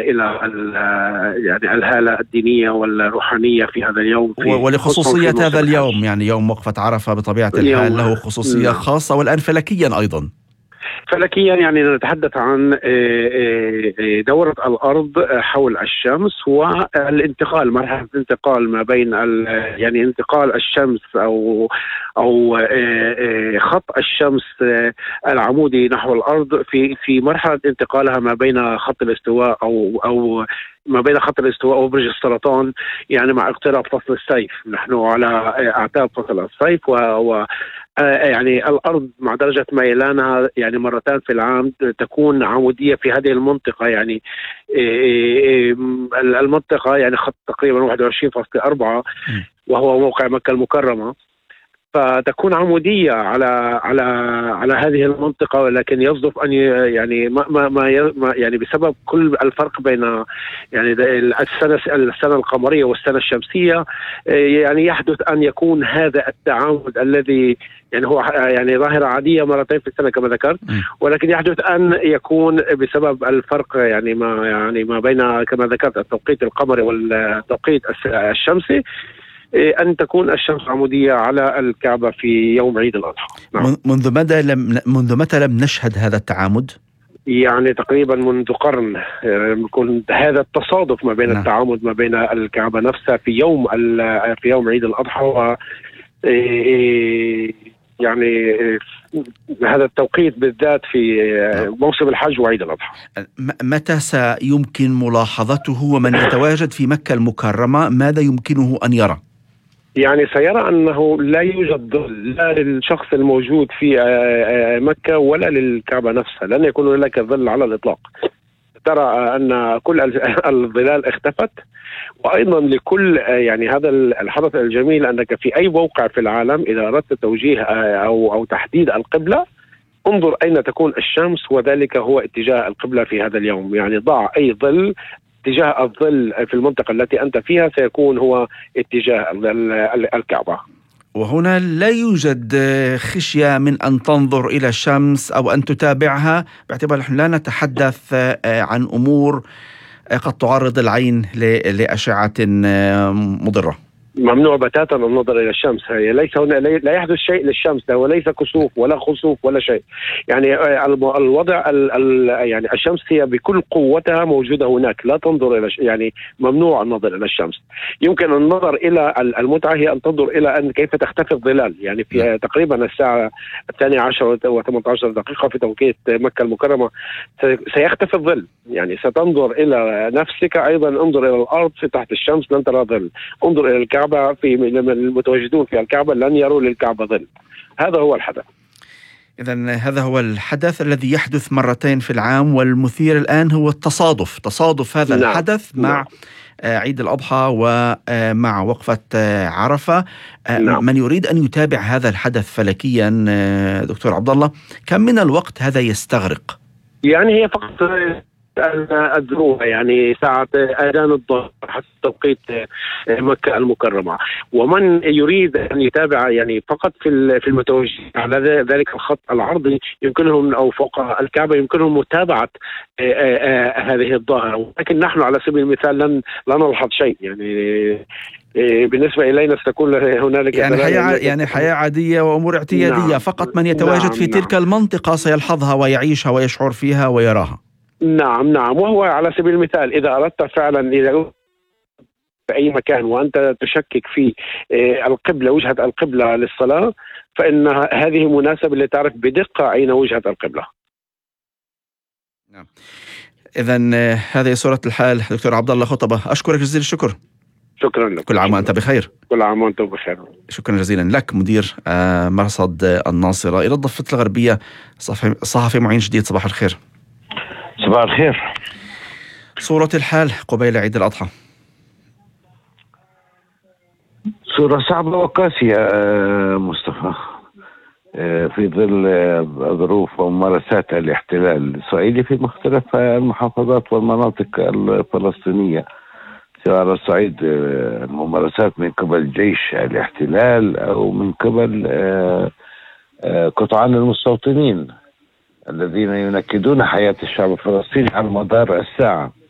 يعني الهالة الدينية والروحانية في هذا اليوم، ولخصوصية هذا اليوم. يعني يوم وقفة عرفة بطبيعة الحال له خصوصية خاصة، والآن فلكيا أيضا. فلكيا يعني نتحدث عن دورة الأرض حول الشمس والانتقال، مرحلة الانتقال ما بين يعني انتقال الشمس أو خط الشمس العمودي نحو الأرض في مرحلة انتقالها ما بين خط الاستواء أو ما بين خط الاستواء وبرج السرطان، يعني مع اقتراب فصل الصيف. نحن على أعتاب فصل الصيف يعني الأرض مع درجة ميلانها يعني مرتان في العام تكون عمودية في هذه المنطقة. يعني المنطقة يعني خط تقريبا 21.4 وهو موقع مكة المكرمة، فتكون عمودية على هذه المنطقة. ولكن يصدف أن يعني ما يعني بسبب كل الفرق بين يعني السنة القمرية والسنة الشمسية، يعني يحدث أن يكون هذا التعامد الذي يعني هو يعني ظاهرة عادية مرتين في السنة كما ذكرت، ولكن يحدث أن يكون بسبب الفرق يعني ما بين كما ذكرت التوقيت القمري والتوقيت الشمسي، أن تكون الشمس عمودية على الكعبة في يوم عيد الأضحى. نعم. منذ متى لم نشهد هذا التعامد؟ يعني تقريبا منذ قرن يكون هذا التصادف ما بين نعم. التعامد ما بين الكعبة نفسها في يوم عيد الأضحى يعني هذا التوقيت بالذات في موسم الحج وعيد الأضحى. متى سيمكن ملاحظته؟ ومن يتواجد في مكة المكرمة ماذا يمكنه أن يرى؟ يعني سيرى أنه لا يوجد ظل لا للشخص الموجود في مكة ولا للكعبة نفسها، لن يكون لك ظل على الإطلاق. ترى أن كل الظلال اختفت. وأيضا لكل يعني هذا الحدث الجميل أنك في أي موقع في العالم إذا أردت توجيه أو تحديد القبلة، انظر أين تكون الشمس وذلك هو اتجاه القبلة في هذا اليوم. يعني ضع أي ظل، اتجاه الظل في المنطقة التي أنت فيها سيكون هو اتجاه الكعبة. وهنا لا يوجد خشية من أن تنظر إلى الشمس أو أن تتابعها، باعتبار نحن لا نتحدث عن أمور قد تعرض العين لأشعة مضرة. ممنوع بتاتا النظر إلى الشمس. هي ليس هنا لا يحدث شيء للشمس، وليس كسوف ولا خسوف ولا شيء. يعني الوضع يعني الشمس هي بكل قوتها موجودة هناك، لا تنظر إلى يعني ممنوع النظر إلى الشمس. يمكن النظر إلى المتعة هي أن تنظر إلى أن كيف تختفي الظلال. يعني في تقريبا الساعة 12:18 في توقيت مكة المكرمة سيختفي الظل. يعني ستنظر إلى نفسك، أيضا انظر إلى الأرض في تحت الشمس لن ترى ظل، انظر إلى الكعبة في المتواجدون في الكعبة لن يروا للكعبة ظل. هذا هو الحدث. إذن هذا هو الحدث الذي يحدث مرتين في العام، والمثير الآن هو تصادف هذا الحدث مع عيد الأضحى ومع وقفة عرفة. من يريد أن يتابع هذا الحدث فلكيا دكتور عبد الله، كم من الوقت هذا يستغرق؟ يعني هي فقط الذروة، يعني ساعة أذان الظهر حتى توقيت مكة المكرمة. ومن يريد أن يتابع يعني فقط في المتوجه على ذلك الخط العرضي يمكنهم أو فوق الكعبة يمكنهم متابعة هذه الظاهرة. لكن نحن على سبيل المثال لا نلحظ شيء. يعني بالنسبة إلينا ستكون هنالك يعني حياة عادية وأمور اعتيادية. نعم. فقط من يتواجد في تلك المنطقة سيلحظها ويعيشها ويشعر فيها ويراها. نعم. وهو على سبيل المثال إذا أردت فعلا إذا في أي مكان وأنت تشكك في القبلة، وجهة القبلة للصلاة، فإن هذه مناسبة لتعرف بدقة أين وجهة القبلة. نعم. إذن هذه صورة الحال دكتور عبد الله خطبة، أشكرك جزيل الشكر. شكرا لك. كل عام وأنت بخير. كل عام وأنت بخير. شكرا جزيلا لك مدير مرصد الناصرة إلى الضفة الغربية صحفي معين جديد. صباح الخير. صباح الخير. صورة الحال قبيل عيد الأضحى. صورة صعبة وقاسية مصطفى، في ظل ظروف وممارسات الاحتلال الإسرائيلي في مختلف المحافظات والمناطق الفلسطينية، سواء على الصعيد الممارسات من قبل جيش الاحتلال أو من قبل قطعان المستوطنين الذين ينكدون حياة الشعب الفلسطيني على مدار الساعة.